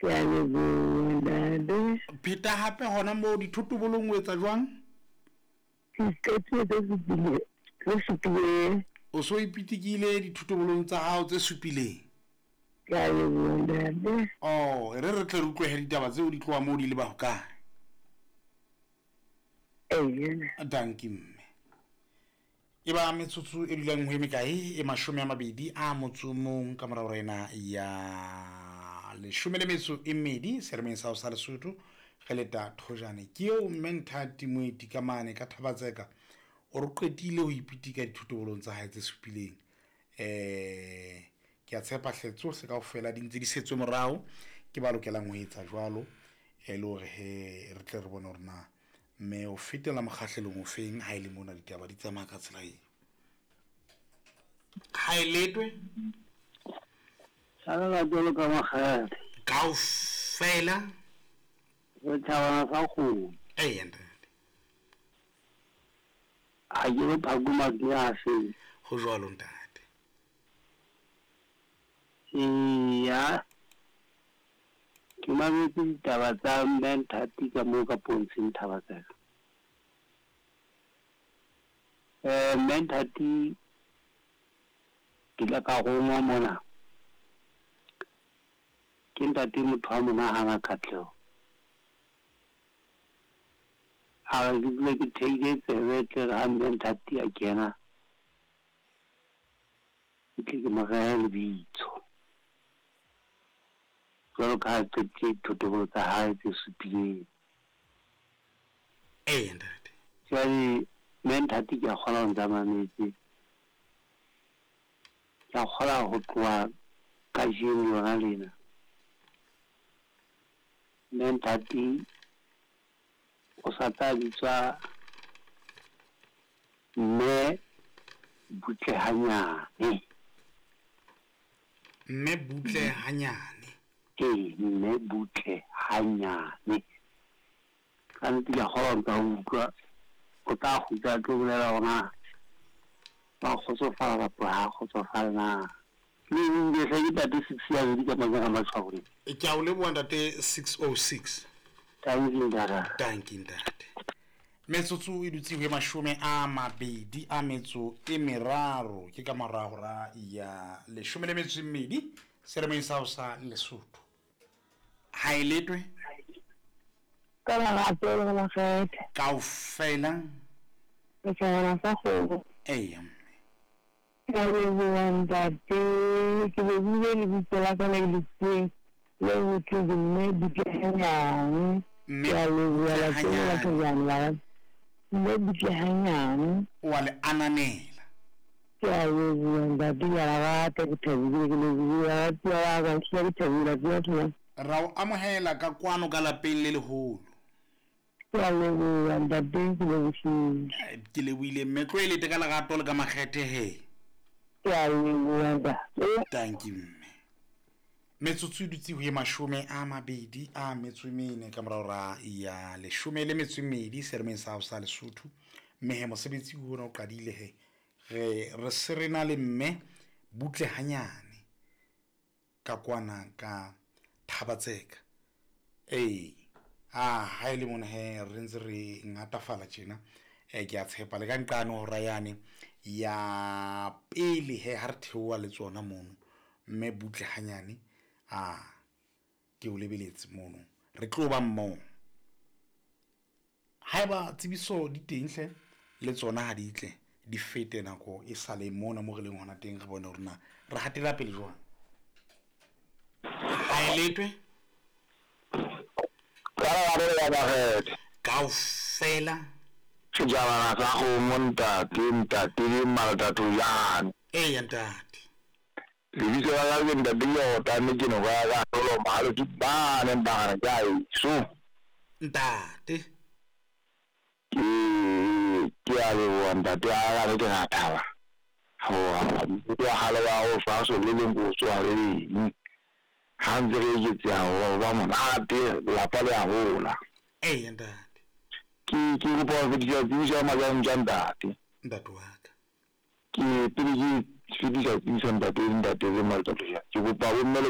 Ke a leboha ntate. Pheta hape hona moo dithotobolong o etsa jwang? Ke qetile tse supileng, tse supileng. O so ipitikile dithotobolong tsa hao tse supileng? Ke a leboha ntate. Oh, e re re tle re utlwe he ditaba tseo di tloha moo di leba hokae. Eya. Dankie mme. E ba metsotso e dulang ho e mekae? E 21 ka mora hora ena ya 12 selemeng sa ho sa Lesotho re leta thojane. Ke eo mme Nthati Moeti ka mane ka Thabatseka o re qetile ho ipitika dithotobolong tsa hae tse supileng. Eh ke a tshepa hle tsohle kaofela di ntse di setswe morao ke ba lokelang ho etsa jwalo e le hore he re tle re bone hore na mme o fetela mokgahlelong ofeng ha e le mona ditaba di tsamaya ka tsela eo. Ha e letwe. Salela jwalo ka makgale. Kaofela. Setjhabana sa kgomo. Eya ntate. Ha ke re phako matsatsi a fele. Ho jwalo ntate. Eya. Ke mametse ditaba tsa Mme Nthati ka moo ka Pontsheng Thabatsela. Eh Mme Nthati ke ile ka rongwa mona ke ntate motho wa monahana Katleho. A re ke dule ke theile tsebe tle re ha Mme Nthati a kena ke tle ke mo rehe lebitso. Jwalo ka ha a qetile dithotobolo tsa hae tse supileng. Eya ntate. Jwale Mme Nthati ke a kgolwa o ntsa mametse. Ke a kgolwa ho tloha kajeno lona lena. Mme Nthati o sa tla bitswa Mme Butle hanyane. Mme Butle hanyane. Ee, Mme Butle hanyane. Ka nnete ke a kgolwa o ntsa utlwa. O tla kgutla a tlo bolela hore na wa kgotsofala kapa ha a kgotsofale na. Le hle ke ntate 6 ya bedi ka manyaka matshwao. Ke a o leboha ntate 606. Tanki ntate. Tanki ntate. Metsotso e dutse ho e 23 ke ka mora hora ya 12 selemeng sa ho sa Lesotho. Ha e letwe. Ka lerato le makgethe. Kaofela. Setjhabana sa kgomo. Eya mme. Ke a leboha ntate. Ke lebohile lebitso la ka le le fuweng le ho thwe ke Mme Butle Hanyane. Mme Ke a leboha Butle lapeng la Hanyane. Thojane la Mme Butle Hanyane. O a le ananela. Ke a leboha ntate, ke a la rata, ke thabile, ke lebohile baratuwa ba ka, ehlile ke thabile la tseba Thojane. Ra o amohela ka kwano ka lapeng le leholo. Ke a leboha ntate, ke lebohile. Ke lebohile mme, tlo e lete ka lerato le ka makgethe he. Ke a leboha ntate. Tanki mme. Metsotso e dutse ho e 24 ka mora hora ya 12 selemeng sa ho sa Lesotho. Mme he mosebetsi ona o qadile he. Re se re na le mme Butle hanyane ka kwana ka Thabatseka. Ee, a ha e le mona he re ntse re ngatafala tjena. Ke a tshepa le ka nqane hora yane ya pele he ha re theoha le tsona mono. Mme Butle hanyane a ke o lebeletse mono. Re tlo ba mmoho. Haeba tsebiso di teng hle le tsona ha di tle di fete nako e sale mona mo re leng hona teng re bone hore na re hatela pele jwang. Ha e letwe. Kaofela. Setjhabana sa kgomo ntate, ntate le Malatatojane. Eya ntate. Lebitso la ka ke ntate Jordane ke noka ya ka Lolo Mahalo ke bane mpagana ke a eso. Ntate. Ke a leboha ntate a ka ke ra thaba. Hore wa hale wa ho fa so le leng go tswa le eng. Ha ntse re eketseha ho ba monate lapa le a hola. Eya ntate. Ke kopa ho fetisa tsebiso ya majang tsa ntate. Ntate wa ka. Ke pele ke fetisa tsebiso ntate le ntate le Malatatojane. Ke kopa bomme le